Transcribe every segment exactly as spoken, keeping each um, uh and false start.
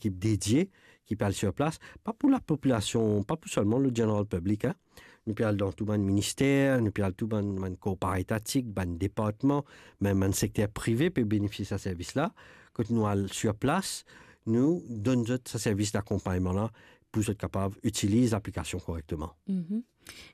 ekip dedie ki pe al sir plas, pa pou lapopilasion, pa pou selman le general public, hein. Nou pe al dan tou bann minister, nou pe al tou bann, bann kor paretati, bann departman, mem bann sekter prive pe benefisye sa servis la. Kot nou al sir plas, nou donn zot sa servis dakonpagnman la pou zot kapav itiliz laplikasion korekteman. Mhm.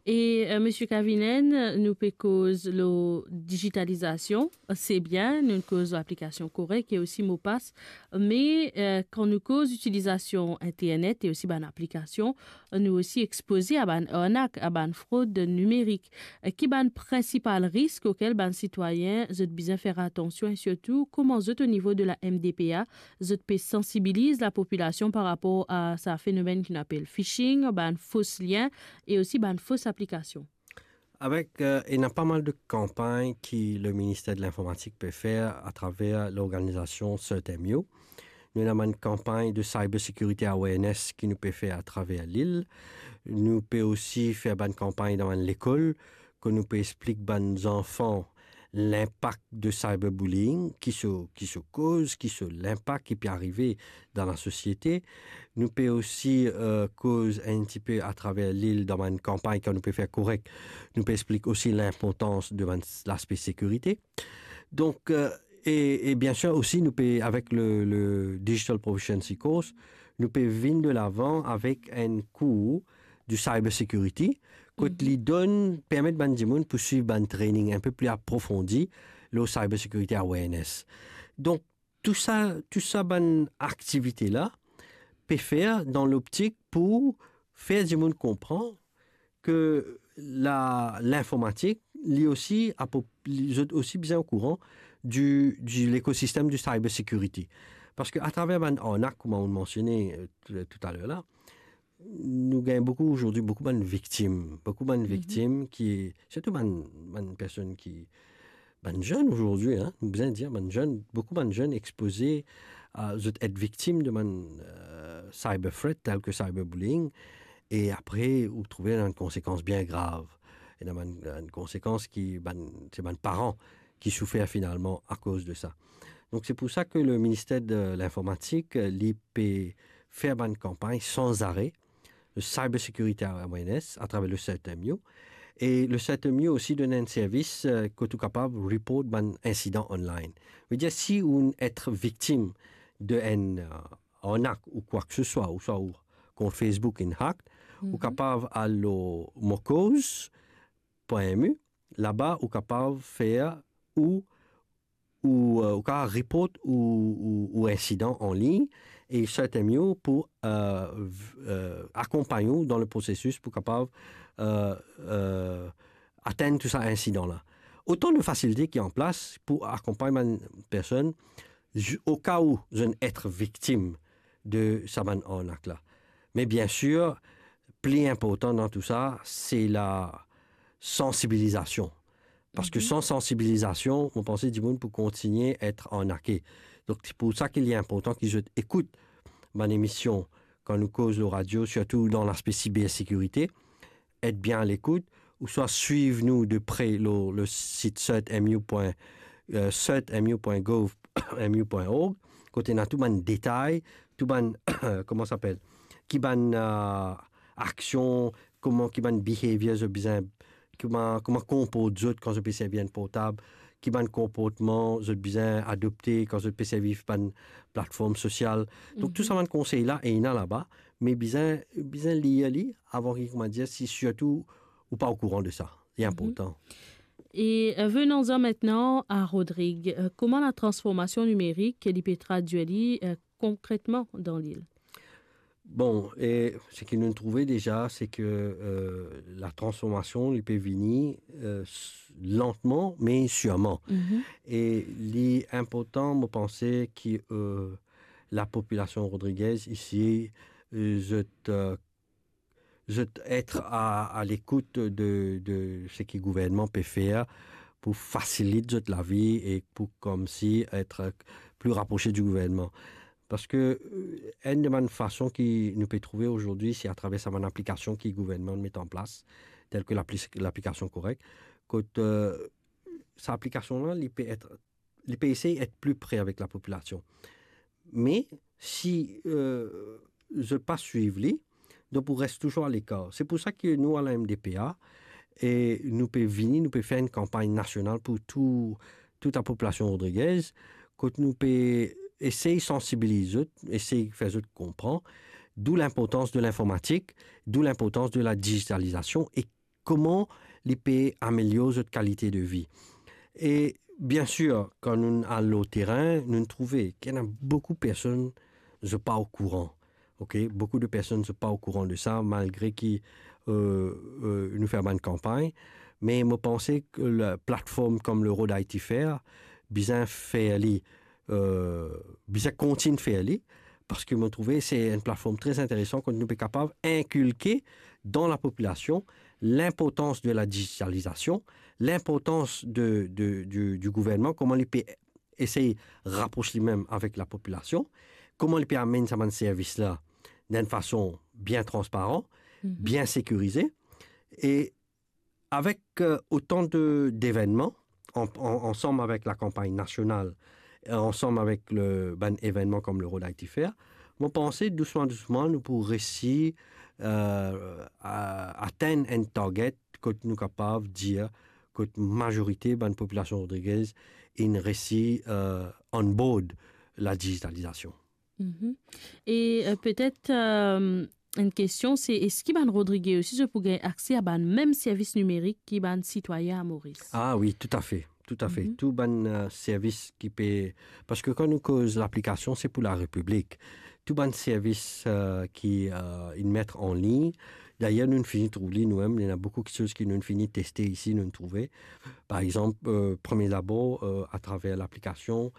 E, euh, Misie Kavinen, nou pe koz lor digitalizasion, se bien, nou koz lor aplikasion korek e osi mo pas, me, euh, kan nou koz itilizasion internet e osi bann aplikasion, nou osi expoze a bann arnak, a bann frod nimerik. Euh, ki bann prinsipal risk okel bann sitwayin zot bizin fer atansion e sirtou kouma zot o nivo de la M D P A, zot pe sansibiliz lapopilasion par rapor a sa fenomenn ki nou apel phishing, bann fos lien e osi bann fos aplikasion. Avek, euh, ena pa mal de kanpagn ki le Minister de Linformatik pe fer atraver lorganizasion Cert M U. Nou ena bann kanpagn de cyber security awareness ki nou pe fer atraver lil. Nou pe osi fer bann kanpagn dan bann lekol, kot nou pe explik bann zanfan linpak de cyberbullying, ki so, ki so koz, ki so linpak ki pe arive dan lasosiete. Nou pe osi, euh, koz enn tipe atraver lil dan bann kanpagn, kan nou pe fer korek, nou pe explik osi linportans de bann laspe sekirite. Donk, euh, e, e biensir osi nou pe, avek le, le Digital Proficiency Course, nou pe vinn de lavan avek enn kour de cyber security, kot li donn, permet bann dimoun pou swiv bann training enn pe pli aprofondi lor cyber security awareness. Donk, tou sa, tou sa bann aktivite la pe fer dan loptik pou fer dimoun konpran ke la, linformatik, li osi, apro-, li, zot osi bizin okouran di, di lekosistem di cyber security. Parski atraver bann arnak, kouma ou mansione, euh, tou, toutaler la, nou gagn boukou azordi, boukou bann viktim, boukou bann viktim ki, sirtou bann, bann personn ki, bann zenn azordi, hein, nou bizin dir, bann zenn, boukou bann zenn expoze a zot et viktim de bann, euh, cyber threat, tel ke cyberbullying, e apre, ou trouve ena bann konsekans bien grav. Ena bann, bann konsekans ki, bann, se bann paran ki soufer finalman akoz de sa. Donk, se pou sa ke le Minister de Linformatik, li pe fer bann kanpagn sanzare, le cyber security awareness, atraver le Cert M U. E le Cert M U osi donn enn servis, euh, kot ou kapav report bann insidan online. Vedir, si ou et viktim de enn, euh, arnak ou kwa ke se swa, ouswa ou kont Facebook inn hack, ou kapav al lor mokoz pwin M U, laba ou kapav fer ou, ou, euh, ou kapav report ou, ou, ou insidan anlign, e Cert M U pou, euh, v-, euh, akonpagn ou dan le prosesis pou kapav, euh, euh, atenn tou sa insidan la. Otan de fasilite ki an plas pou akonpagn bann personn, ju-, oka ou zot et viktim de sa bann arnak la. Me biensir, pli inportan dan tou sa, se la sansibilizasion. Parski san sansibilizasion, mo panse dimoun pou kontigne et arnake. Donk, se pou sa ki li inportan ki zot ekout bann emision kan nou koz lor radio, sirtou dan laspe sibersekirite, et bien a lekout, ouswa swiv nou de pre lor le sit cert M U pwin, euh, cert M U pwin gov M U pwin org, kot ena tou bann detay, tou bann, kouma sa apel, ki bann, euh, aksion, kouma, ki bann behavior zot bizin, kouma, kouma konport zot kan zot pe servi enn portab, ki bann konportman zot bizin adopte kan zot pe servi bann platform sosial. Donk, tou sa bann konsey la, ena laba, me bizin, bizin lir li avan ki, kouma dir, si sirtou ou pa okouran de sa. Li inportan. E, euh, venons-en maintenant à Rodrigue. Euh, kouma latransformasion nimerik, li pe tradwir li, euh, konkretman dan lil? Bon, e seki nou trouve deza, se ke, euh, latransformasion, li pe vini, euh, s-, lantman, me sirman. E li inportan, mo panse, ki, euh, lapopilasion rodrigez isi, euh, zot, euh, zot et a, a lekout de, de seki gouvernman pe fer pou fasilit zot lavi e pou koumsi et pli raprose di gouvernman. Parski, euh, enn de bann fason ki nou pe trouve azordi, se atraver sa bann aplikasion ki gouvernman met an plas, tel ke lapli-, laplikasion Korek, kot, euh, sa aplikasion la, li pe et, li pe esey et pli pre avek lapopilasion. Me si, euh, zot pa swiv li, donk ou res touzour alekar. Se pou sa ki nou, a la M D P A, e nou pe vini, nou pe fer enn kanpagn nasional pou tou, tou lapopilasion rodrigez, kot nou pe esey sansibiliz zot, esey fer zot konpran, dou linportans de linformatik, dou linportans de ladizitalizasion e kouma li pe amelior zot kalite de vi. E bien sir, kan nou al lor terin, nou trouve ki ena boukou personn, zot pa okouran. Ok, boukou de personn, zot pa okouran de sa, malgre ki, euh, euh, nou fer bann kanpagn. Me mo panse ki laplatform kom le Rhode I T Fair, bizin fer li, euh, bizin kontign fer li, parski mo trouve se enn platform tre interesan kot nou pe kapav inkilke dan lapopilasion linportans de ladizitalizasion, linportans de, de, di, di gouvernman, kouma li pe esey rapros limem avek lapopilasion, kouma li pe amenn sa bann servis la dan enn fason bien transparan, bien sekirize, e avek, euh, otan de, devennman, an, an, ansam avek lakanpagn nasional, e ansam avek le, bann evennman kom le Rhode I T Fair, mo panse dousman, dousman, nou pou resi, euh, a, atenn enn target kot nou kapav dir kot mazorite bann popilasion rodrigez inn resi, euh, on board ladizitalizasion. Mhm. E, euh, petet, euh, enn kestion, se eski bann Rodrige osi, zot pou gagn akse a bann mem servis nimerik ki bann sitwayin a Moris? Ah wi, toutafe, toutafe. Mhm. Tou bann, euh, servis ki pe, parski kan nou koz laplikasion, se pou larepiblik. Tou bann servis, euh, ki, euh, inn met an lign, dayer nou fini trouv li noumem, ena boukou kiksoz ki nou fini teste isi, nou trouve. Par exanp, euh, premie dabor, euh, atraver laplikasion,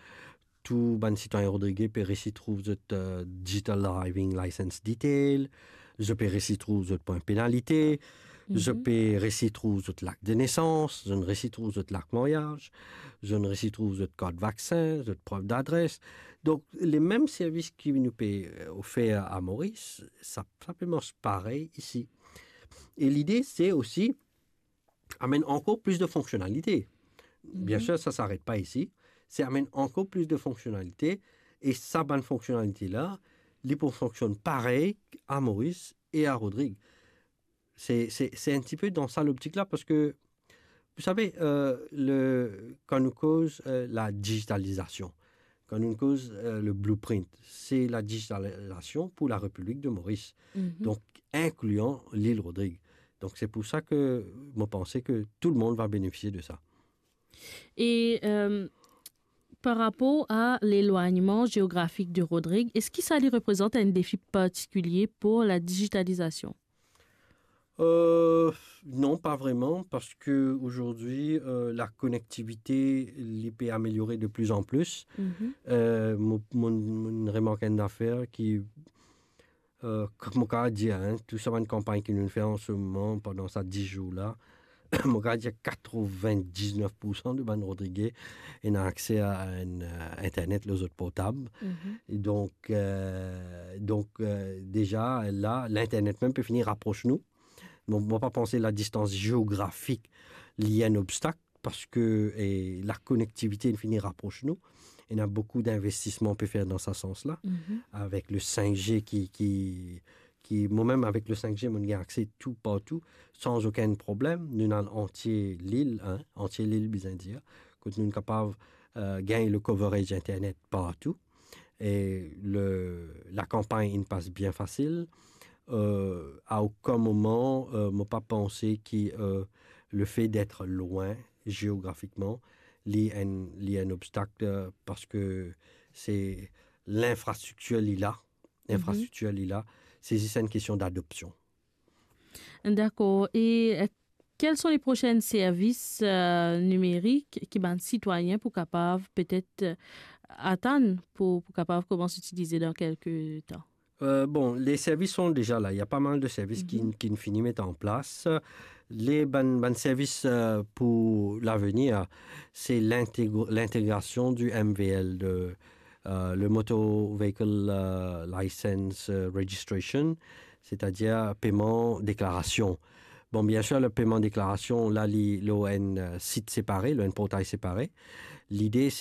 tou bann sitwayin rodrige pe resi trouv zot, euh, digital driving license detail, zot pe resi trouv zot pwin penalite, zot pe resi trouv zot lak de nesans, zot resi trouv zot lak maryaz, zot resi trouv zot kart vaksin, zot prev dadres. Donk, lemem servis ki nou pe, euh, ofer a Moris, sa, sa pe mars parey isi. E lide, se osi amenn ankor plis de fonksionalite. Bien sir, sa s'arrête pas ici. Se amenn ankor plis de fonksionalite, e sa bann fonksionalite la, li pou fonksionn parey a Moris e a Rodrig. Se, se, se enn tipe dan sa loptik la, parski, vous savez, euh, le, kan nou koz, euh, ladizitalizasion, kan nou koz, euh, le blueprint, se ladizitalizasion pou Larepiblik de Moris. Mhm. Donk, inklian lil Rodrig. Donk, se pou sa ki mo panse ki tou lemonn va benefisie de sa. E, euh, par rapor a lelwagnman zeografik de Rodrig, eski sa li reprezant enn defi partikilie pou ladizitalizasion? Euh, non, pa vreman, parski azordi, euh, lakonektivite, li pe ameliore de pli an pli. Mhm. Euh, mo, mo, mo remark enn zafer ki, euh, kot mo kapav dir, hein, tou sa bann kanpagn ki nou fer an se moman, pandan sa dis zour la, mo kapav dir katrevin-diznef poursan de bann Rodrige ena akse a enn, euh, internet lor zot portab. Mhm. E donk, euh, donk, euh, deza, la, linternet mem pe fini rapros nou. Bon, mo pa panse ladistans zeografik, li enn obstak, parski, e, lakonektivite inn fini rapros nou. Ena boukou dinvestisman pe fer dan sa sans la, mhm, avek le cinq G ki, ki, ki, mo mem avek le cinq G, mo gagn akse tou partou, san okenn problem. Nou ena antie lil, hein, antie lil, bizin dir, kot nou kapav, euh, gagn le coverage internet partou. E le, lakanpagn inn pas bien fasil. Euh, a okenn moman, euh, mo pa panse ki, euh, le fait d'être loin zeografikman, li enn, li enn obstak, euh, parski se linfrastriktir li la, mhm, linfrastriktir li la, se zis enn kestion d'adopsion. Dakor. E, euh, quels sont les prochains services, euh, numériques ki bann sitwayin pou kapav petet, euh, atann pou, pou kapav koumans itilize dan kelke tan? Euh, bon, les services sont déjà là. Il y a pas mal de services qui, mhm, ki fini met an plas. Les bann, bann servis, euh, pou lavenir, se linteg-, lintegrasion du M V L, de, euh, le Motor Vehicle, euh, License, euh, Registration, setadir peman deklarasion. Bon, bien sir, le peman deklarasion, la, li lor enn, euh, sit separe, lor enn portay separe. Lide, se